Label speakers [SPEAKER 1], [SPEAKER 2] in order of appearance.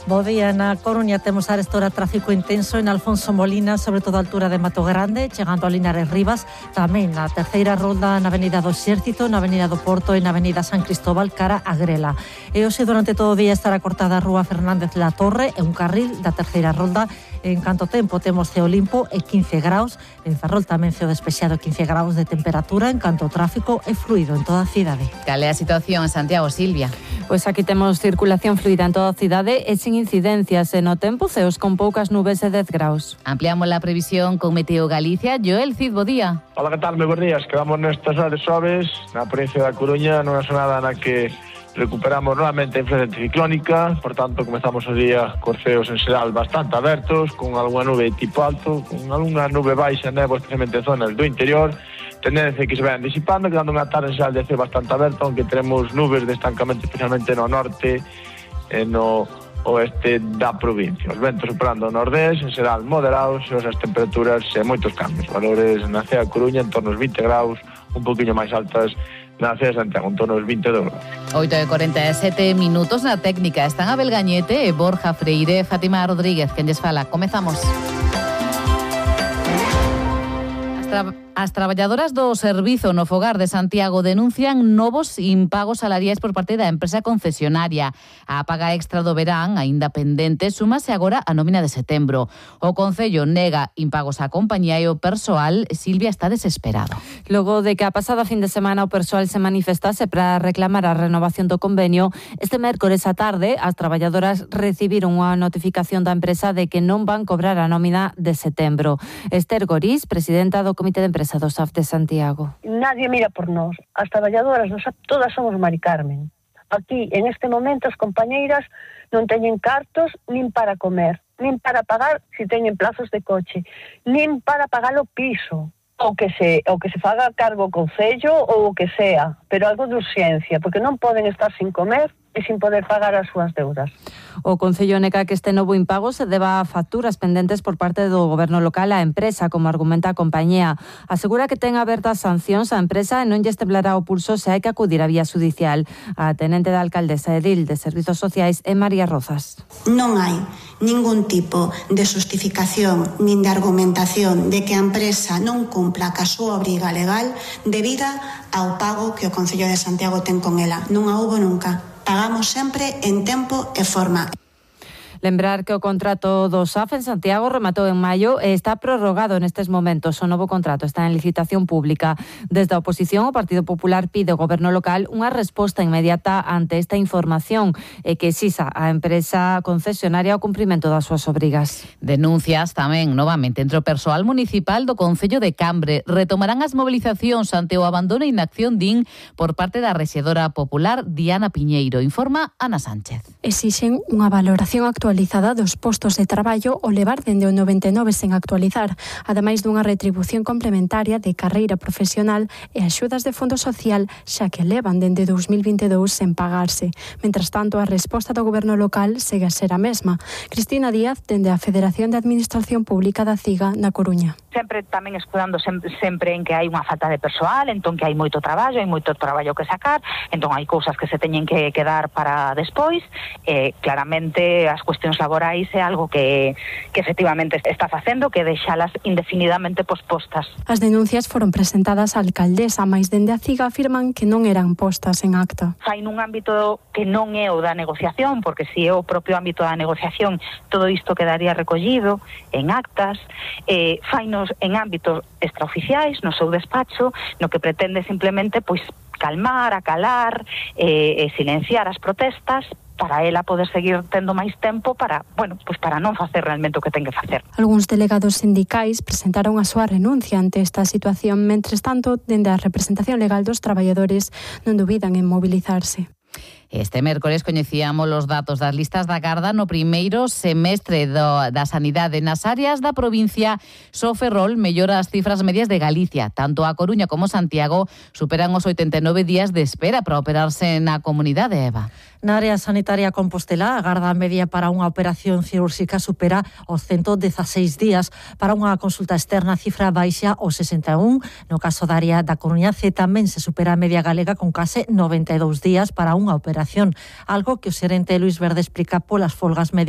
[SPEAKER 1] Bo día, na Coruña temos a esta hora tráfico intenso en Alfonso Molina, sobre todo a altura de Mato Grande, chegando a Linares Rivas, tamén na terceira rolda na Avenida do Exército, na Avenida do Porto e na Avenida San Cristóbal cara a Grela. E hoxe durante todo o día estará cortada a Rúa Fernández La Torre e un carril da terceira rolda. En canto tempo temos ceo limpo e 15 graus, en Ferrol tamén ceo despexado 15 graus de temperatura, en canto o tráfico é fluido en toda a cidade.
[SPEAKER 2] Cal é a situación en Santiago, Silvia?
[SPEAKER 3] Pois aquí temos circulación fluida en toda a cidade e sin incidencias e no tempo ceos con poucas nubes e 10 graus.
[SPEAKER 2] Ampliamos la previsión con Meteo Galicia. Joel Cid, bo día.
[SPEAKER 4] Hola, que tal? Moi bons días. Quedamos nestas áreas suaves na provincia da Coruña, nunha sonada na que recuperamos nuevamente a influencia anticiclónica, por tanto comezamos o día cos ceos en xeral bastante abertos, con algunha nube tipo alto, con algunha nube baixa, néboa, especialmente en zonas do interior, tendencia que se vayan disipando, quedando unha tarde en xeral de ceo bastante aberto, aunque teremos nubes de estancamento especialmente no norte e no oeste da provincia. Os ventos superando o nordés, en xeral moderados, e as temperaturas e moitos cambios. Valores na Cea Coruña en torno aos 20 graus, un poquinho máis altas na Cea Santiago, en torno aos 22 graus.
[SPEAKER 2] 8:47 minutos na técnica. Están Abel Gañete e Borja Freire, Fátima Rodríguez, quen lles fala. Comezamos. As traballadoras do Servizo no Fogar de Santiago denuncian novos impagos salariais por parte da empresa concesionaria. A paga extra do verán, aínda pendente, súmase agora a nómina de setembro. O Concello nega impagos á compañía e o persoal, Silvia, está desesperado.
[SPEAKER 3] Logo de que a pasada fin de semana o persoal se manifestase para reclamar a renovación do convenio, este mércores á tarde as traballadoras recibiron unha notificación da empresa de que non van cobrar a nómina de setembro. Esther Gorís, presidenta do Comité de Empresa do SAF de Santiago.
[SPEAKER 5] Nadie mira por nós. As traballadoras do SAF todas somos Mari Carmen. Aquí, en este momento, as compañeiras non teñen cartos nin para comer, nin para pagar se teñen plazos de coche, nin para pagar o piso, ou que se faga cargo o concello ou o que sea, pero algo de urxencia, porque non poden estar sin comer e sin poder pagar as súas deudas.
[SPEAKER 3] O Concello nega que este novo impago se deba a facturas pendentes por parte do goberno local á empresa, como argumenta a compañía. Asegura que ten abertas sancións á empresa e non lles temblará o pulso se hai que acudir á vía judicial. A tenente da alcaldesa edil de Servizos Sociais é María Rozas.
[SPEAKER 6] Non hai ningún tipo de xustificación nin de argumentación de que a empresa non cumpla ca súa obriga legal debida ao pago que o Concello de Santiago ten con ela. Non a houbo nunca. Pagamos sempre en tempo e forma.
[SPEAKER 3] Lembrar que o contrato do SAF en Santiago rematou en maio e está prorrogado nestes momentos. O novo contrato está en licitación pública. Desde a oposición, o Partido Popular pide ao goberno local unha resposta inmediata ante esta información e que exixa á empresa concesionaria o cumprimento das súas obrigas.
[SPEAKER 2] Denuncias tamén novamente entre o persoal municipal do Concello de Cambre. Retomarán as mobilizacións ante o abandono e inacción din por parte da rexedora popular Diana Piñeiro. Informa Ana Sánchez.
[SPEAKER 7] Exixen unha valoración actualizada dos postos de traballo o levar dende o 99 sen actualizar, ademais dunha retribución complementaria de carreira profesional e axudas de fondo social, xa que levan dende 2022 sen pagarse. Mentras tanto, a resposta do goberno local segue a ser a mesma. Cristina Díaz, dende a Federación de Administración Pública da CIGA na Coruña.
[SPEAKER 8] Sempre tamén escudando sempre en que hai unha falta de persoal, entón que hai moito traballo que sacar, entón hai cousas que se teñen que quedar para despois, claramente as cuestións laborais é algo que efectivamente está facendo que deixalas indefinidamente pospostas.
[SPEAKER 7] As denuncias foron presentadas á alcaldesa, mais dende a CIGA afirman que non eran postas en acta.
[SPEAKER 8] Fai nun ámbito que non é o da negociación, porque se é o propio ámbito da negociación, todo isto quedaría recollido en actas, fainos en ámbitos extraoficiais, no seu despacho, no que pretende simplemente calmar, acalar e silenciar as protestas para ela poder seguir tendo máis tempo para non facer realmente o que ten que facer.
[SPEAKER 7] Algúns delegados sindicais presentaron a súa renuncia ante esta situación, mentres tanto, dende a representación legal dos traballadores non dubidan en mobilizarse.
[SPEAKER 2] Este mércores coñecíamos os datos das listas da Garda no primeiro semestre da sanidade. Nas áreas da provincia, só Ferrol mellora as cifras medias de Galicia. Tanto a Coruña como Santiago superan os 89 días de espera para operarse na comunidade, Eva.
[SPEAKER 1] Na área sanitaria compostelá, a garda media para unha operación cirúrxica supera os 116 días. Para unha consulta externa, a cifra baixa os 61. No caso da área da Coruñace tamén se supera a media galega con case 92 días para unha operación. Algo que o xerente Luis Verde explica polas folgas médicas